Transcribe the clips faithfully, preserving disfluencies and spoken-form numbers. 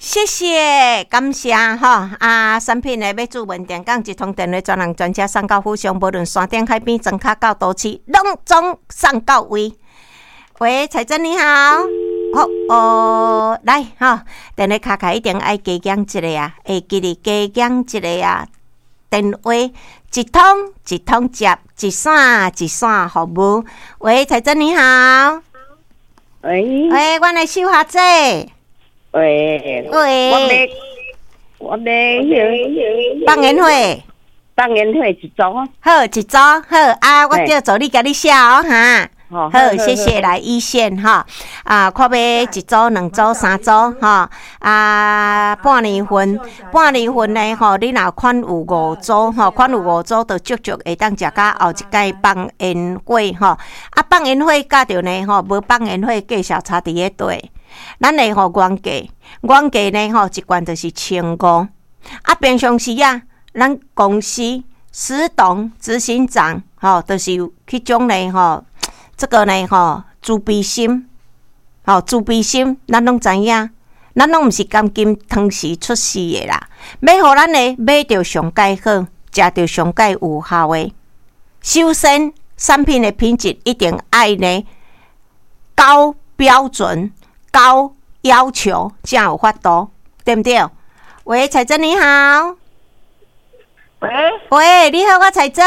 謝謝，感謝吼啊！產品的欲注文電講一通電話，專人專車送到府上，無論山頂海邊、莊跤到都市，攏總送到位。喂，彩珍你好，好哦，來吼，電話卡卡一定愛加減一個啊，會記得加減一個啊。電話一通一通接，一線一線服務。喂，彩珍你好。喂。喂，阮的秀霞姐。喂。喂。我欲，我欲彼個放煙火。放煙火一組。好，一組好啊！我叫助理共你寫哦，哈。好，謝謝來一線哈啊，看欲一組、兩組、三組吼啊，半年份，半年份呢吼，你若款有五組吼，款有五組，就足足會當食到後一擺放煙火吼。啊，放煙火佮著呢吼，無放煙火價數差佇咧佗。咱的吼原價，原價呢吼一罐就是千五。啊，平常時啊，咱公司施董執行長吼，就是彼種呢吼。這個呢，吼，慈悲心，吼，慈悲心，咱攏知影，咱攏毋是甘心湯匙出世的啦。欲予咱的買著上蓋好，食著上蓋有效的。首先，產品的品質一定愛呢高標準、高要求，才有法度，對毋對？喂，彩珍你好。喂。喂，你好，我彩珍。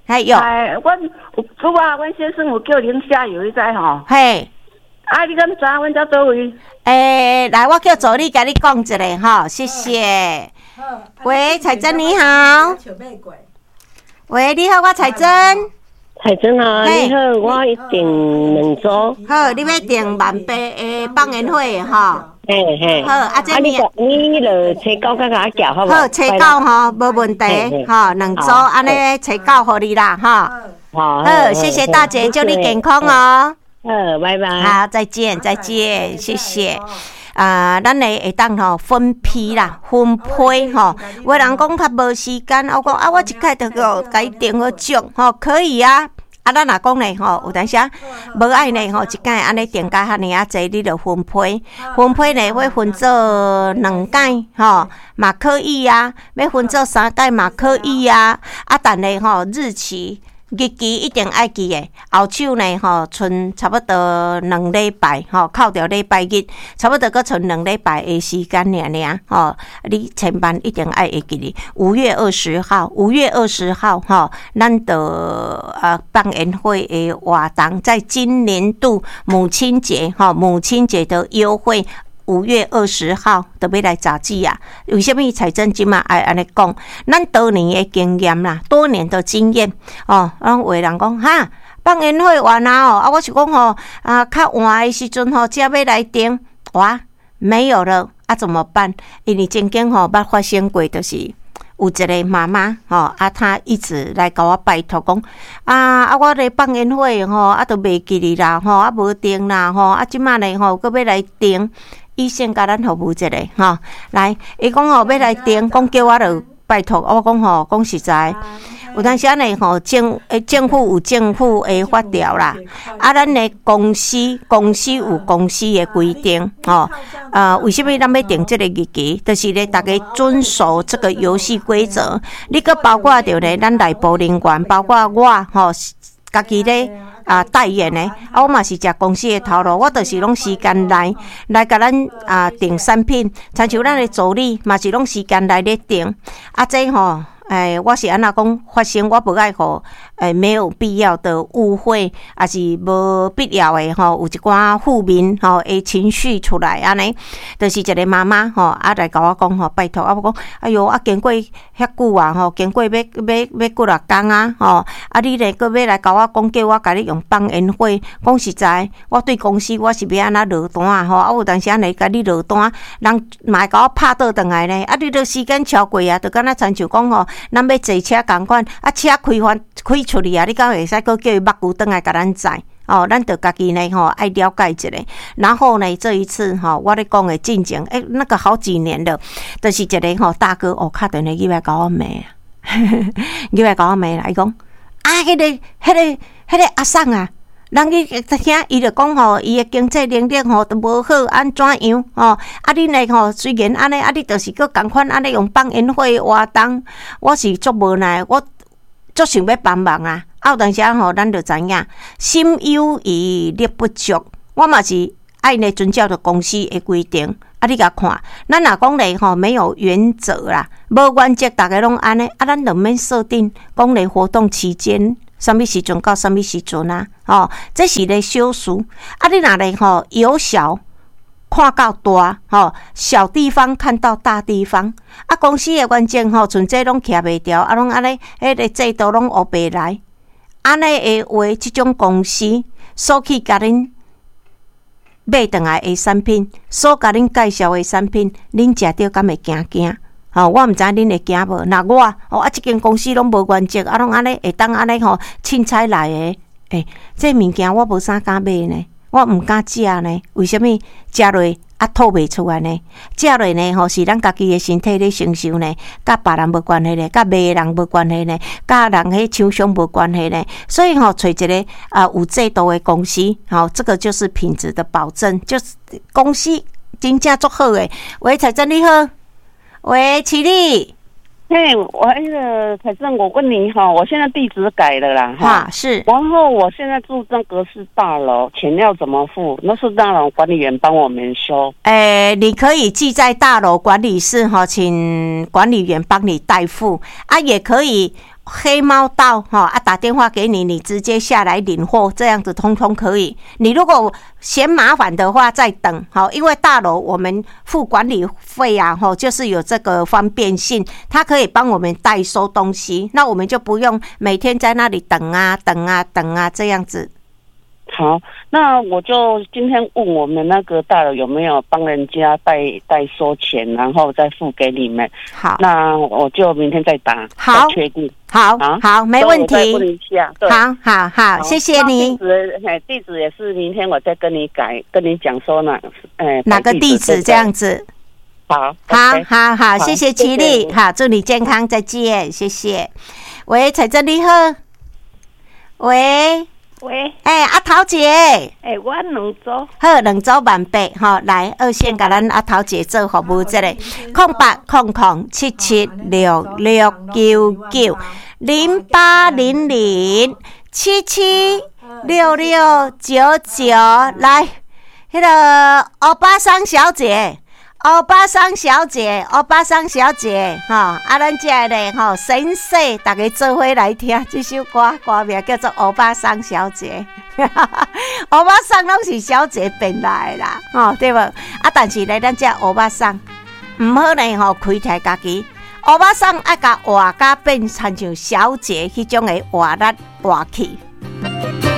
哎喲。哎，阮有拄仔，阮先生有叫龍蝦油，你知吼？嘿。啊，你敢知阮佇佗位？欸，來，我叫助理共你講一下吼，謝謝。喂，彩珍你好。喂，你好，我彩珍。彩珍啊，你好，我欲訂兩組。好，你欲訂萬八的放煙火吼。嘿嘿。好，啊，這你你就初九才共我寄好無？好，初九吼，無問題，吼，兩組按呢初九予你啦，吼。好，好，謝謝大姐，祝你健康哦。好，拜拜。好，再見，再見，謝謝。啊，咱的會當吼分批啦，分批吼。有的人講較無時間，我講啊，我一擺就共伊訂好足吼，可以啊。啊，咱若講咧吼，有當時無愛呢吼，一擺按呢訂甲遐爾仔濟，你就分批，分批呢會分做兩擺吼，嘛可以啊。欲分做三擺嘛可以啊。啊，但係吼日期。日期一定愛記的，後手呢吼，賰差不多兩禮拜吼，扣掉禮拜日，差不多閣賰兩禮拜的時間爾爾吼。你千萬一定愛會記得，五月二十號，五月二十號吼，咱著啊放煙火的活動，在今年度母親節吼，母親節的優惠。五月二十號就欲來閘止啊！為啥物彩珍這馬愛按呢講？咱多年的經驗啦，多年的經驗哦。攏有的人講哈，放煙火完啊哦，啊，我是講吼啊，較晚的時陣吼，才欲來訂哇，沒有了啊，怎麼辦？因為曾經吼捌發生過，就是有一個媽媽吼啊，她一直來共我拜託講啊啊，我咧放煙火吼啊，都袂記得啦吼，啊無訂啦吼，啊這馬呢吼，閣欲來訂。醫生共咱服務一下吼，來，伊講吼欲來訂，講叫我著拜託，我講吼講實在，有當時仔呢吼政欸政府有政府的法條啦，啊，咱的公司公司有公司的規定吼，啊，為啥物咱欲定這個日期？就是咧，逐家遵守這個遊戲規則。你閣包括著咧，咱內部人員，包括我吼，家己咧啊代言的，啊，我嘛是食公司的頭路，我就是攏時間內來共咱啊訂產品，親像咱的助理嘛是攏時間內咧訂，啊，這吼。欸，我是按怎講發生，我無愛予欸沒有必要的誤會，抑是無必要的吼，有一寡負面吼的情緒出來按呢，就是一個媽媽吼，啊來共我講吼，拜託啊，我講，哎喲，啊經過遐久啊吼，經過欲欲欲幾若工啊吼，啊你咧閣欲來共我講，叫我共你用放煙火，講實在，我對公司我是欲按怎落單啊吼，啊有當時按呢共你落單，人嘛會共我拍倒轉來呢，啊你著時間超過啊，就敢若親像講吼，咱欲坐車仝款，啊車開翻開出去啊，你敢會使閣叫伊目睭轉來共咱載？哦，咱著家己呢吼愛了解一下。然後呢，這一次吼，我咧講的進前，欸，那個好幾年了，就是一個吼大哥哦，敲電話入來共我罵啊，入來共我罵啦，伊講啊，彼個彼個彼個阿桑啊，人去遐，伊就講吼，伊的經濟能力吼都無好，按怎樣吼？啊，恁的吼雖然按呢，啊，你就是閣仝款按呢用放煙火的活動，我是足無奈，我足想欲幫忙啊！啊，有當時吼，咱就知影，心有餘力不足，我嘛是愛呢遵照著公司的規定。啊，你共看，咱若講咧吼沒有原則啦，無原則，逐家攏按呢，啊，咱就免設定講咧活動期間。啥物時陣到啥物時陣啊？吼，這是咧小事。啊，你若咧吼由小看到大，吼，小地方看到大地方。啊，公司的原則吼，像這攏徛袂牢，啊，攏按呢，彼个制度攏烏白來。按呢的話，這種公司所去共恁買轉來的產品，所共恁介紹的產品，恁食著敢會驚驚？吼，我毋知恁會驚無？若我，哦啊，這間公司攏無原則，啊，攏按呢會當按呢吼，凊彩來的，欸，這物件我無啥敢買呢，我毋敢食呢。為啥物？食落啊吐袂出來呢？食落呢吼，是咱家己的身體咧承受呢，佮別人無關係呢，佮賣的人無關係呢，佮人彼廠商無關係呢。所以吼，揣一个啊有制度的公司，吼，這個就是品質的保證，就是公司真正足好的。喂，彩珍你好。喂，綺麗。嘿，我那個彩珍，我問你哈，我現在地址改了啦，哈，是。然後我現在住那個是大樓，錢要怎麼付？那是大樓管理員幫我們收。欸，你可以寄在大樓管理室哈，請管理員幫你代付啊，也可以黑貓到哈啊，打電話給你，你直接下來領貨，這樣子通通可以。你如果嫌麻煩的話，再等好，因為大樓我們付管理費啊，吼，就是有這個方便性，他可以幫我們代收東西，那我們就不用每天在那裡等啊等啊等啊這樣子。好，那我就今天問我們那個大樓有沒有幫人家代代收錢，然後再付給你們。好，那我就明天再打，好，確定。好，好，沒問題。問一下，對，好好好，謝謝你。地址，地址也是明天我再跟你改，跟你講說哪，哎，哪個地址這樣子。好，好，好，好，謝謝綺麗，好，祝你健康，再見，謝謝。喂，彩珍你好。喂。喂，欸，阿桃姐，欸，我兩組，好，兩組萬八，吼，來二線共咱阿桃姐做服務，這个空八空空七七六六九九零八零零七七六六九九，來，彼个歐巴桑小姐。歐巴桑小姐，歐巴桑小姐，吼，啊，咱這个咧，吼，神社，逐家做伙來聽這首歌，歌名叫做《歐巴桑小姐》。歐巴桑攏是小姐變來的啦，吼，對無？啊，但是咧，咱這歐巴桑毋好呢，吼，開刣家己。歐巴桑愛共活甲變親像小姐彼種的活力活氣。